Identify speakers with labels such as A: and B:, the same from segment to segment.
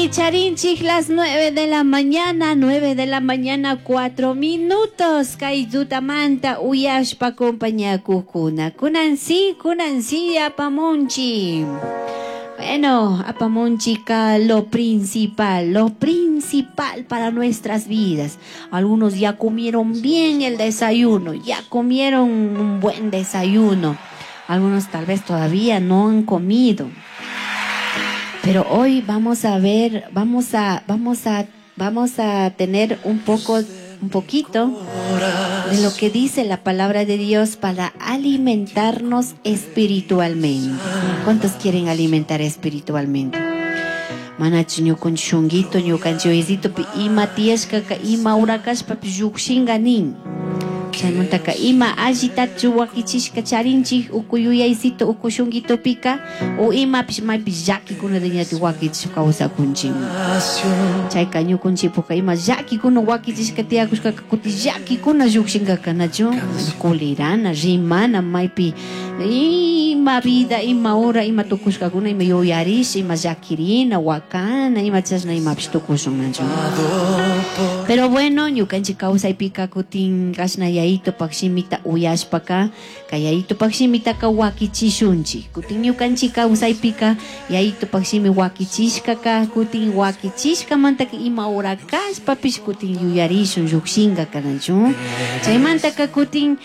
A: Kunanmi charinchik las 9 de la mañana, 9 de la mañana, 4 minutos. Kay tutamanta uyashpa acompañakukuna. Kunan sí, kunan sí, apamunchi. Bueno, apamunchika lo principal para nuestras vidas. Algunos ya comieron bien el desayuno, ya comieron un buen desayuno. Algunos tal vez todavía no han comido. Pero hoy vamos a ver, vamos a, vamos a, vamos a tener un poco, un poquito de lo que dice la palabra de Dios para alimentarnos espiritualmente. ¿Cuántos quieren alimentar espiritualmente? Manachu ñukanchik shunguito, ñukanchik uyisitopi ima tiyashkaka, ima urakashpapish llukshinga nin. Chaymantaka ima allitachu wakichishka charinchik uku yuyaysito, uku shunguitopika, o imapish maypish llakikunata ñati wakichishpa kawsakunchik. Chayka ñukanchikpuka ima llakikuna wakichishka tiyakushkaka kuti llakikuna llukshinkaka nachu? Kulirana, rimana, maypi ima vida, ima hora, ima tukushkakuna, ima yuyarish, ima llakirina, wakana, ima chashna imapish tukushun nachu? Pero bueno, ñukanchik kawsaypika kutin kashna yayitopak shimita uyashpaka, kay yayitopak shimitaka wakichishunchik. Kutin ñukanchik kawsaypika yayitopak shimi wakichishkaka, kutin wakichishkamantaka ima hora kashpapish kutin yuyarishun llukshinkaka nachu? Chaymantaka kutin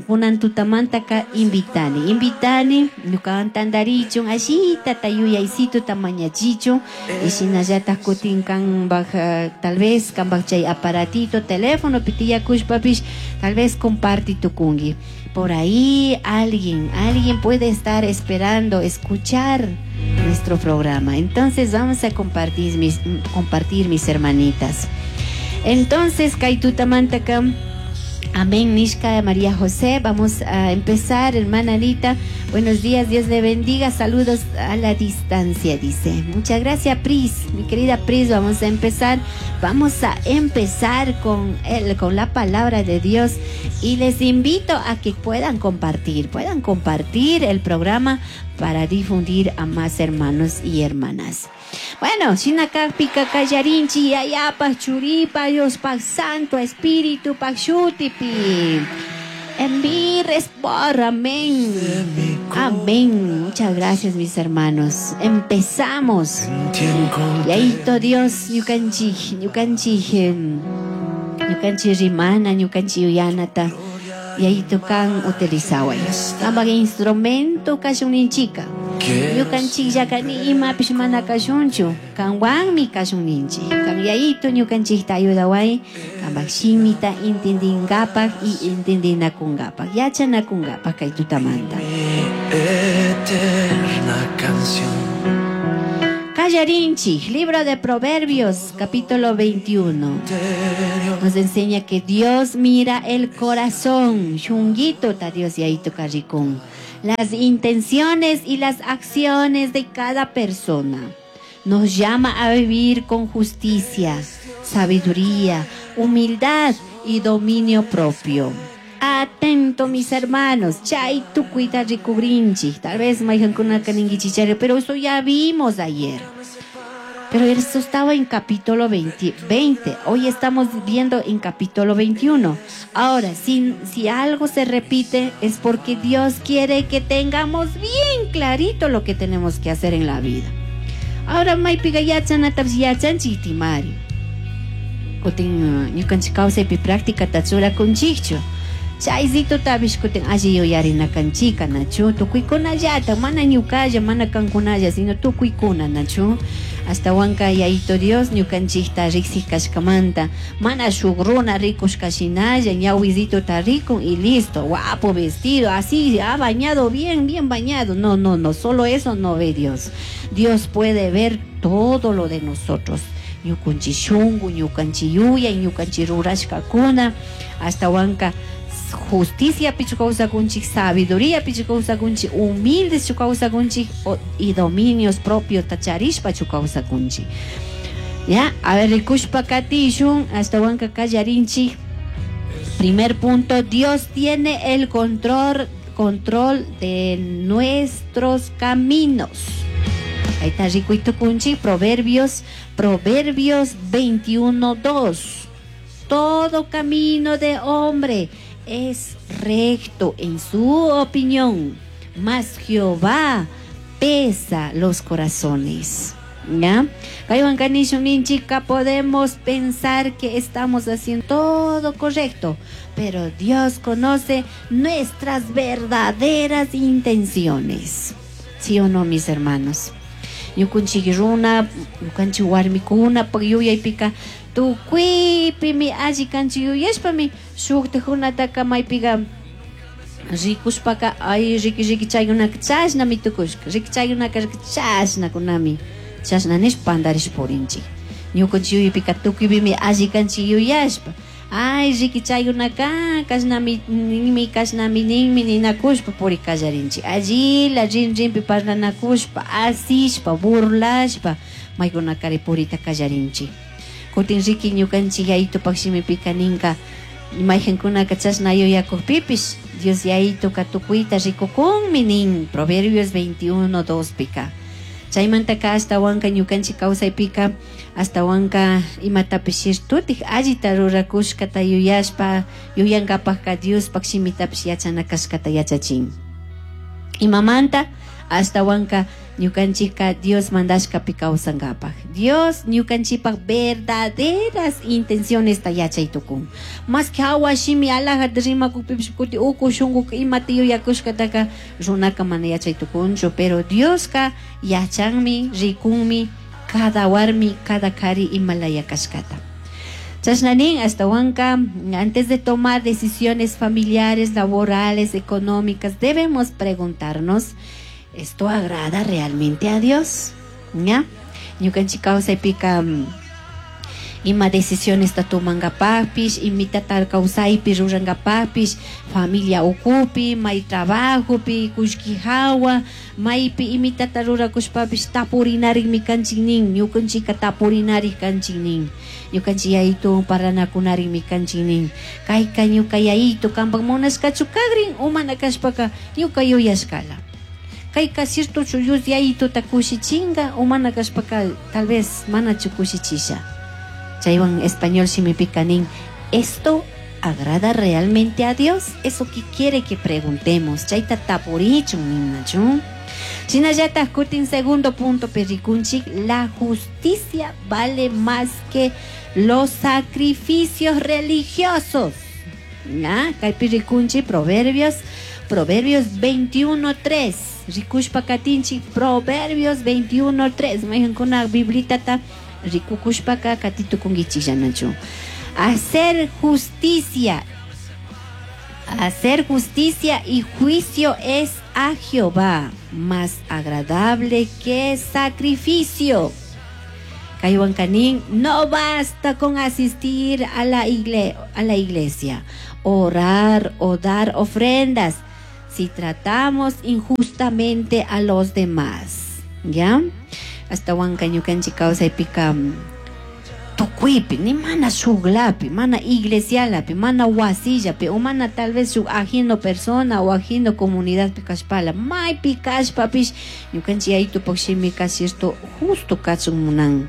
A: kunan tutamantaka invitani, invitani ñukawan tantarichun, ashitata yuyaysituta mañachichun, y shinallatak kutin kanpak tal vez kanpak chay aparatito, teléfono pitiyakushpapish, tal vez comparti tukunki. Por ahí alguien puede estar esperando escuchar nuestro programa. Entonces vamos a compartir mis hermanitas. Entonces, kay tutamantaka, amén, Nishka María José. Vamos a empezar, hermana Anita. Buenos días, Dios le bendiga. Saludos a la distancia, dice. Muchas gracias, Pris. Mi querida Pris, vamos a empezar. Vamos a empezar con la palabra de Dios. Y les invito a que puedan compartir el programa para difundir a más hermanos y hermanas. Bueno, shinakakpika kallarinchi yayapaj churipa Diospaj Santo Espíritu paj shutipi. En mi respor, amén. Amén. Muchas gracias, mis hermanos. Empezamos. Y ahí todo Dios, ñukanchi, ñukanchi, ñukanchi rimana, ñukanchi yuyanata. Y ahí tocan utilizaway. Tambag instrumento kashun ninchika. Ñukanchik llaka ni imapish mana kashunchu. Kanwanmi kashun ninchik. Kan yayito ñukanchikta ayudaway. Kanpak shimita intendingapak y entendinakungapak. Yachanakungapak kay tutamanta.
B: Eterna canción.
A: Kallarinchik, libro de Proverbios, capítulo 21. Nos enseña que Dios mira el corazón. Shunguito ta Dios yayito karikun. Las intenciones y las acciones de cada persona. Nos llama a vivir con justicia, sabiduría, humildad y dominio propio. Atento, mis hermanos. Chay tukuita rikugrinchi. Tal vez maijankuna kaningichichari, pero eso ya vimos ayer. Pero eso estaba en capítulo 20. Hoy estamos viendo en capítulo 21. Ahora, si algo se repite, es porque Dios quiere que tengamos bien clarito lo que tenemos que hacer en la vida. Ahora, maypiga yachanatapish yachanchik timari. Kutin, ñukanchik kawsaypi práctica churakunchikchu. Chaysitotapish kutin alli yuyarinakanchika, nachu? Tukuykunallata, mana ñukalla, mana kankunalla, sino tukuykuna, nachu? Ashtawanka yayito Dios ñukanchikta riksik kashkamanta, mana shuk runa rikushkashinalla, ñawisitota rikun y listo, guapo vestido, así, ha bañado bien, bien bañado. No, no, no, solo eso no ve Dios. Dios puede ver todo lo de nosotros. Ñukanchik shunku, ñukanchik yuyay, ñukanchik rurashkakuna, ashtawanka justicia pichu kawsakunchik, sabiduría pichu kawsakunchik, humildes chu kawsakunchik, y dominios propios tacharishpa chu kawsakunchik. Ya, a ver, rikushpa katishun, ashtawanka kallarinchik. Primer punto, Dios tiene el control de nuestros caminos. Kayta rikuy tukunchik Proverbios, Proverbios 21:2. Todo camino de hombre es recto en su opinión, mas Jehová pesa los corazones. ¿Ya? Kaywan nishun ninchika podemos pensar que estamos haciendo todo correcto, pero Dios conoce nuestras verdaderas intenciones. ¿Sí o no, mis hermanos? Ñukunchik runa, ñukanchik warmikuna yuyaypika tukuypimi alli kanchik yuyashpami shuktikunataka maypika rikushpaka ay riki riki chaykunaka chashnami tukushka, riki chaykunaka chashnakunami, chashna nishpa pantarish purinchik. Ñukanchik yuyaypika tukuypimi alli kanchik yuyashpa, ay riki chaykunaka kashnami ninmi, kashnami ninmi ninakushpa puri kallarinchik. Allila rin rinpi parlanakushpa, asishpa, burlashpa maykunakari purita kallarinchik. Kutin riki ñukanchik yayitupak shimipika ninka mayqinkunaka chashna yuyakukpipish Dios yayituka tukuyta rikukunmi nin Proverbios 21:2 pika. Chaymantaka ashtawanka ñukanchik kawsaypika ashtawanka imatapish shirtutik allita rurakushkata yuyashpa yuyankapakka Diospak shimitapish yachana kashkata yachachin. Imamanta ashtawanka ñukanchikka Dios mandashkapi kawsankapak. Dios ñukanchikpak verdaderas intencionesta yachay tukun. Más que hawa shimi alajata rimakukpipish kuti uku shunkuka imata yuyakushkataka runaka mana yachay tukunchu, pero Dioska yachanmi, rikunmi cada warmi, cada kari imalaya kashkata. Chashna nin ashtawanka antes de tomar decisiones familiares, laborales, económicas, debemos preguntarnos, ¿esto agrada realmente a Dios? ¿Ya? Ñukanchik kawsaypika ima decisiones ta tomankapakpish, imitata kawsaypi rurankapakpish, familia ukupi, may trabajopi, kullki hawa, maypi imitata rurakushpapish tapurinarikmi kanchik nin, ñukanchikka tapurinarik kanchik nin, ñukanchik yayituwan parlanakunarikmi kanchik nin, kayka ñuka yayitu kanpak munashkachu kagrin o mana kashpaka ñuka yuyashkala. Kayka ciertochu Dios yayituta kushichinga o mana kashpaka tal vez manachu kushichisha. Chaywan español shimipika nin, ¿esto agrada realmente a Dios? Eso que quiere que preguntemos. Chayta tapurichun ninnachu. Shinallataj kutin segundo punto perrikunchik, la justicia vale más que los sacrificios religiosos. ¿Ya? Kaypi rikunchik Proverbios, Proverbios 21:3. Rikushpa katinchik Proverbios 21:3. Mayqankuna biblitata rikukushpaka katitukunkichik llanachu. Hacer justicia. Hacer justicia y juicio es a Jehová más agradable que sacrificio. Kaywan kanin, no basta con asistir a la iglesia, orar o dar ofrendas si tratamos injustamente a los demás. ¿Ya? Hasta wanka ñukanchik kawsaypika tukuypi, ni mana shuklapi, mana iglesialapi, mana wasillapi, o mana tal vez shuk ajeno persona o ajeno comunidadpi kashpala, maypi kashpapish ñukanchik yayitupak shimika cierto justo kachun munan.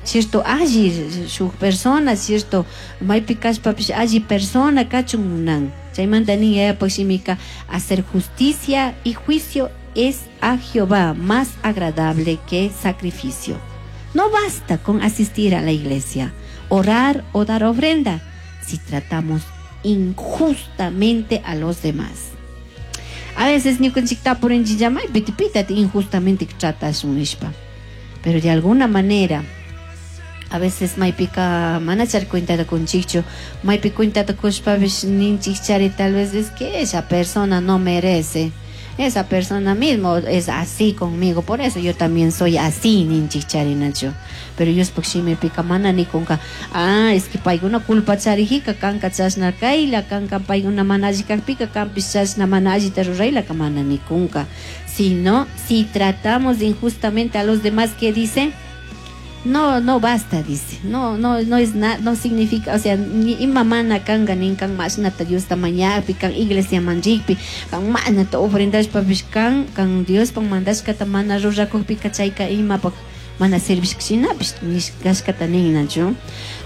A: Cierto alli shuk persona, cierto maypi kashpapish alli persona kachun munan. Chaymanta nin yayapak shimika hacer justicia y juicio es a Jehová más agradable que sacrificio. No basta con asistir a la iglesia, orar o dar ofrenda, si tratamos injustamente a los demás. A veces ñukanchik tapurinchik maypi pitati injustamente tratashun nishpa. Pero de alguna manera, a veces maypika mana chari cuentata kunchikchu, maypi cuentata kushpapish ninchik chari tal vez es que esa persona no merece. Esa persona mismo es así conmigo, por eso yo también soy así, ninchik charinachu. Pero Diospak shimipika mana nikunka, ah, es que paykuna culpa charijika, kanka chashna kayla, kanka paykuna mana alli kakpika, kanpish chashna mana allita ruraylaka mana nikunka. Sino, si tratamos injustamente a los demás, ¿qué dice? No, no basta, dice. No, no, no es no significa, o sea, ni ima mana kanga nin kan mashnata Diosta mañakpi, kan iglesiaman rikpi, kan manata ofrendashpapish kan, kan Diospak mandashkata mana rurakukpika chayka imapak mana servishka shinapish nishkashkata ninnachu.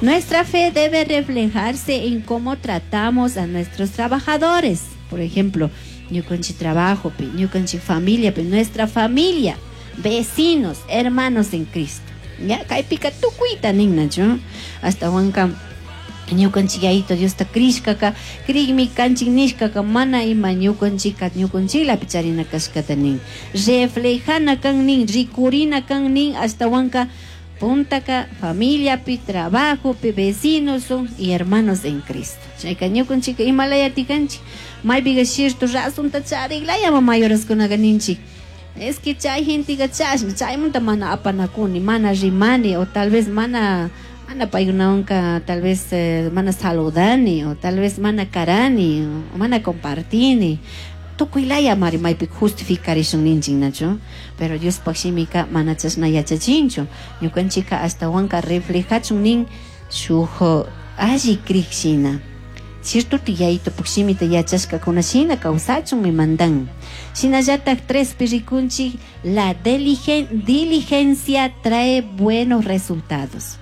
A: Nuestra fe debe reflejarse en cómo tratamos a nuestros trabajadores. Por ejemplo, ñukanchik trabajopi, ñukanchik familiapi, nuestra familia, vecinos, hermanos en Cristo. Ya, kaypika tukuyta ninnachu. Ashtawanka ñukanchik Yayito Diosta crishkaka, crikmi kanchik nishkaka mana ima ñukanchika ñukanchiklapi charina kashkata nin. Reflejana kan nin, rikurina kan nin, ashtawanka puntaka familiapi, trabajopi, vecinos y hermanos en Cristo. Chayka ñukanchika imalayati kanchik, maypiqa cierto razonta chariklaya mayoraskunaqa ninchik. Es que chay genteqa chashna, chaymunta mana apanakuni, mana rimani, o tal vez mana, mana paykunawanka tal vez mana saludani, o tal vez mana karani, o mana compartini. Tukuylaya mari maypi justificarishun ninchik nachu, pero Diospaq shimika mana chashna yachachinchu. Ñukanchika ashtawanka reflejachun nin shuk alli krik shina. Cierto Yayitopak shimita yachashkakuna shina kawsachunmi mandan. Shinallatak 3 rikunchik, la diligencia trae buenos resultados.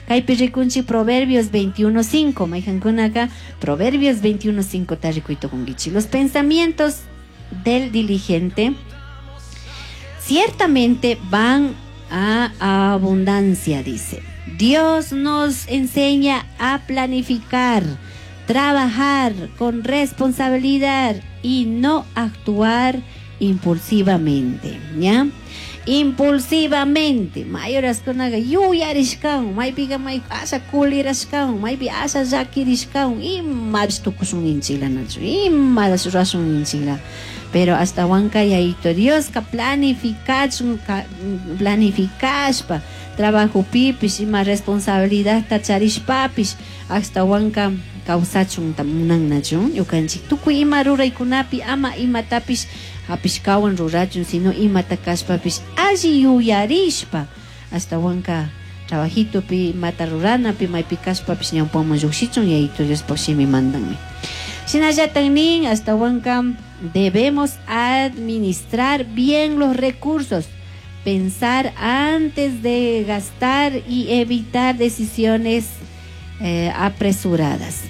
A: Kaypi rikunchik Proverbios 21:5. Mayhankunaka Proverbios 21:5 ta rikuytukunkichik. Los pensamientos del diligente ciertamente van a abundancia, dice. Dios nos enseña a planificar, trabajar con responsabilidad y no actuar impulsivamente, ¿ya? Impulsivamente, mayoraskunaqa yuyarishkan, maypiqa may asha kulirashkan, maypi asha llakirishkan, imapish tukushun ninchikla, nachu, imash rurashun ninchikla. Pero ashtawanka Yayito Dioska planificachun, planificashpa, trabajopipish, ima responsabilidadta charishpapish, ashtawanka kawsachun munannachu, ñukanchik tukuy ima ruraykunapi ama imatapish hapishkawan rurachun, sino imata kashpapish alli yuyarishpa, ashtawanka trabajitopi imata ruranapi maypi kashpapish ñawpaman llukshichun Yayito Diospaq shimi mandanmi. Shinallatak nin, ashtawanka debemos administrar bien los recursos, pensar antes de gastar y evitar decisiones apresuradas.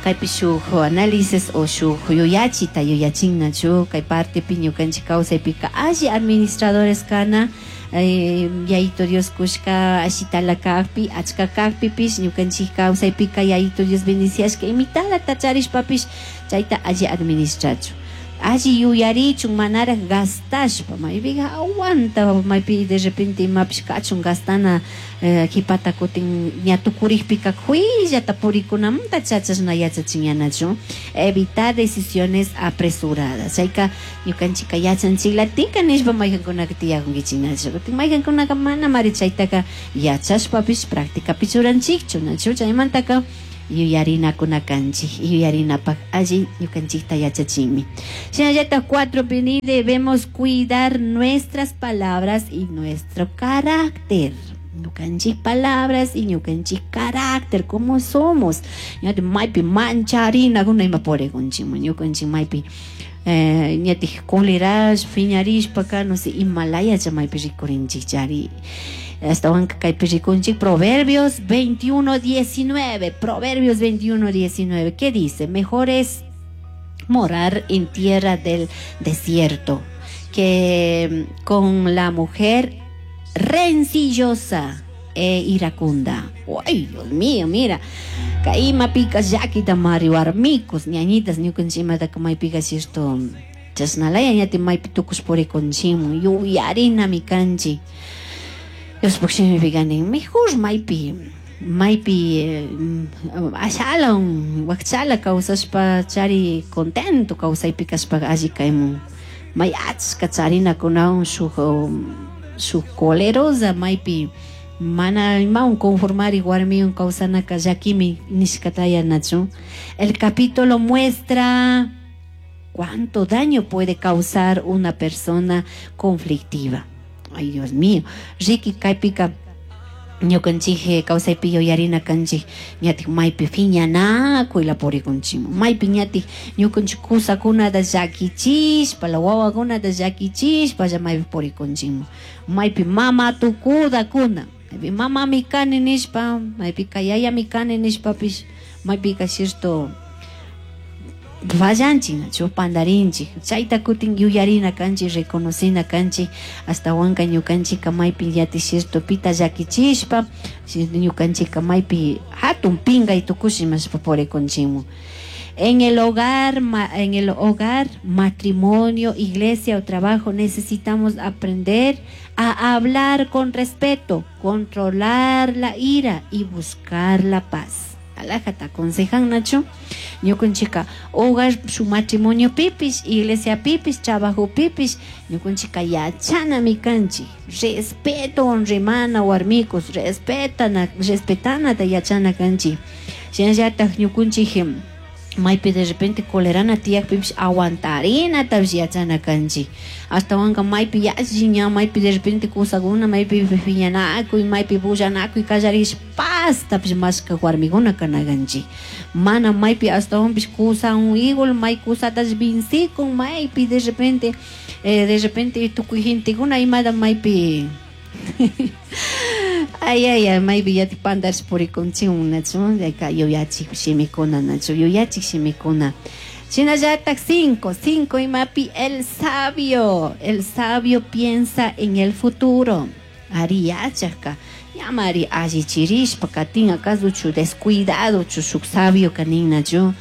A: Kaypi shuk análisis o shuk yuyachita yuyachinnachu, kay partepi ñukanchik kawsaypika alli administradores kana, Yayito Dios kushka ashitala kakpi, achka kakpipish ñukanchik kawsaypika Yayito Dios bendiciashka imitalata charishpapish chayta alli administrachu. Alli yuyarichun manaraj gastashpa, maypiqa aguanta, maypi de repente imapish kachun gastana, qhipata kutin ña tukurikpika kuyllata purikunamanta chachashna yachachinñanachu. Evitar decisiones apresuradas. Chayka ñukanchika yachanchiklatika nishpa mayqankunaka tiyakunkichiknachu. Kutin mayqankunaka mana mari chaytaka yachashpapish practicapi churanchikchu, nachu. Chaymantaka yuyarinakuna kanchik, yuyarinapak alli ñukanchikta yachachinmi. Shinallatak 4 pini debemos cuidar nuestras palabras y nuestro carácter. Ñukanchik palabras y ñukanchik carácter, cómo somos. Ñati maypi mancharina kuna ima purikunchikman, ñukanchik maypi, ñati kulirash, piñarishpaka, no sé, imalayacha maypi rikurinchik chari. Ashtawanka kaypi rikunchik Proverbios 21:19. Proverbios 21:19. ¿Qué dice? Mejor es morar en tierra del desierto que con la mujer rencillosa e iracunda. Ay, Dios mío, mira. Kay ima pika llakita mari warmikus, ñañitas ñukanchimata maypika cierto chasnalaya ñati maypi tukush purikunchimun, yuyarinami kanchik. Diospaq shimipika nin, mejor maypi, maypi, ashalan, wakchala kawsashpa chari contento kawsaypi kashpa alli kaymun. May achka charinakunawan shuk colerosa maypi mana imawan conformari warmiwan kawsanaka llakimi nishkataya nachu. El capítulo muestra cuánto daño puede causar una persona conflictiva. Ay, Dios mío. Riki kaypika Ñukanchik kawsaypi yuyarina kanchik ñatik maypi phiñanakuyla purikunchikman, maypi ñatik ñukanchik kusakunata llakichishpala, wawakunata llakichishpalla maypi purikunchikman, maypi mama tukudakuna, maypi mamami kani nishpa, maypika yayami kani nishpapish, maypika cierto fallanchik, nachu pandarinchik, chayta kutin yuyarina kanchik, reconocina kanchik, astawanka ñukanchikka maypi yati cierto pita llakichishpa, ñukanchikka maypi hatun pinkay tukush imashpa purikunchikmun. En el hogar, matrimonio, iglesia o trabajo, necesitamos aprender a hablar con respeto, controlar la ira y buscar la paz. Alajata aconsejan, nachu. Ñukanchika hogar, su matrimonio pipis, iglesia pipis, trabajo pipis, ñukanchika yachanami kanchik. Respeto rimana warmikus, respetana, respetanata yachana kanchik. Shinallatak ñukanchik maypi de repente colerana tiyakpipish aguantarinatapish yachana kanchik. Ashtawanka maypi yalli ña maypi de repente kusakuna maypi phiñanakuy, maypi bullanakuy kallarish pastapish mashkak warmikuna kana kanchik. Mana maypi ashtawanpish kusan igual may kusatash vincikun maypi de repente tukuy gentekuna imata maypi ay ay ay maypi yati pandash purikunchik, nachu, yuyachik shimikuna, nachu, yuyachik shimikuna. Shinallatak cinco, cinco imapi el sabio piensa en el futuro. Ari yachakka ñamari allichirishpa katin, acaso descuidado chu shuk sabio kanin, nachu.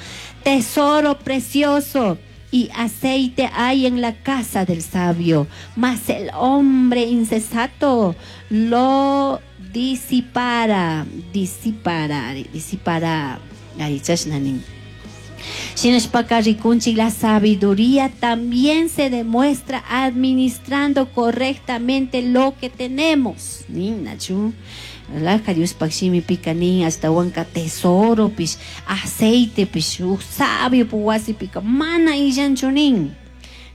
A: Tesoro precioso y aceite hay en la casa del sabio, mas el hombre insensato lo disipara, disipara, disipara, ari chashna nin. Shinashpaka rikunchik, la sabiduría también se demuestra administrando correctamente lo que tenemos. Nin, nachu. Laja Diospaj shimipika nin ashtawanka tesoropish, aceitepish, shuk sabio wasipika mana illanchu nin.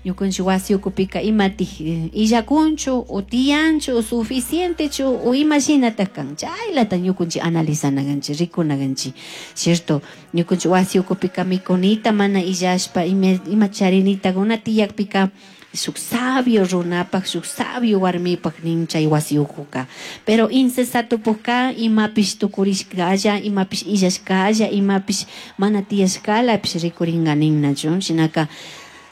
A: Ñukanchik wasi ukupika imatik illakunchu o tiyanchu o suficientechu o imashinatak kan, chaylata ñukanchik analizana kanchik, rikuna kanchik, cierto? Ñukanchik wasi ukupika mikunita mana illashpa ima charinitakuna tiyakpika shuk sabio runapak, shuk sabio warmipak nin chay wasi ukuka. Pero insensatopukka imapish tukurishkalla, imapish illashkalla, imapish mana tiyashkalapish rikuringa nin, nachu. Shinaka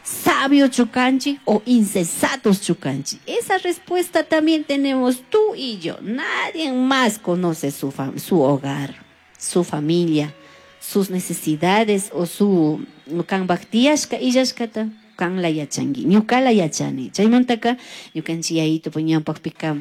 A: sabio chukanchik o insensatos chukanchik. Esa respuesta también tenemos tú y yo. Nadie más conoce su hogar, su familia, sus necesidades o su kanpak tiyashka illashkata kanla yachanki, ñukala yachani. Chaymantaka ñukanchik yayitupa ñawpakpika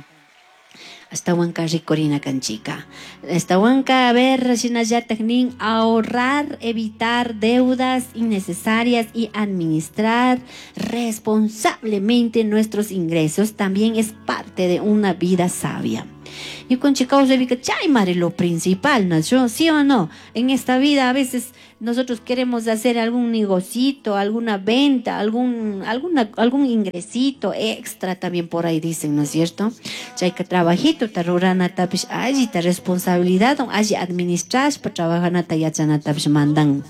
A: ashtawanka rikurina kanchika. Ashtawanka, a ver, shinallatak nin ahorrar, evitar deudas innecesarias y administrar responsablemente nuestros ingresos también es parte de una vida sabia. Ñukanchik kawsaypika chaymari lo principal, ¿no? ¿Sí o no? En esta vida a veces nosotros queremos hacer algún negocito, alguna venta, algún ingresito extra también por ahí dicen, ¿no es cierto? Chayka trabajito ta ruranatapish allita responsabilidad, alli administrashpa trabajanata yachanatapish mandan.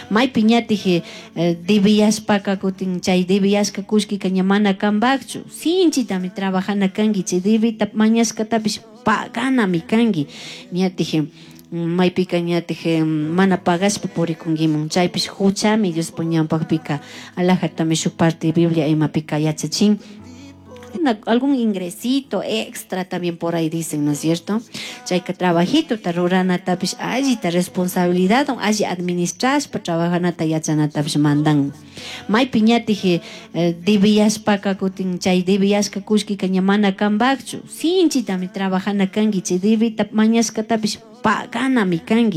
A: Maypi ñatik debiyashpaka kutin chay debiyashka kullkika ña mana kanpakchu. Sinchitami trabajana kanki, chay debita mañashkatapish paganami kanki. Ñatik maypika ñatik mana pagashpa purikunkiman, chaypish huchami Diospa ñawpakpika, alajatami shuk parte Biblia imapika yachachin. Algún ingresito extra también por ahí dicen, ¿no es cierto? Chayka trabajito ta ruranatapish allita responsabilidad, alli administrashpa trabajanata yachanatapish mandan. Maypi ñatik debiyashpaka kutin chay debiyashka kullkika ña mana kanpakchu. Sinchitami trabajana kanki, chay debita mañashkatapish paganami kanki.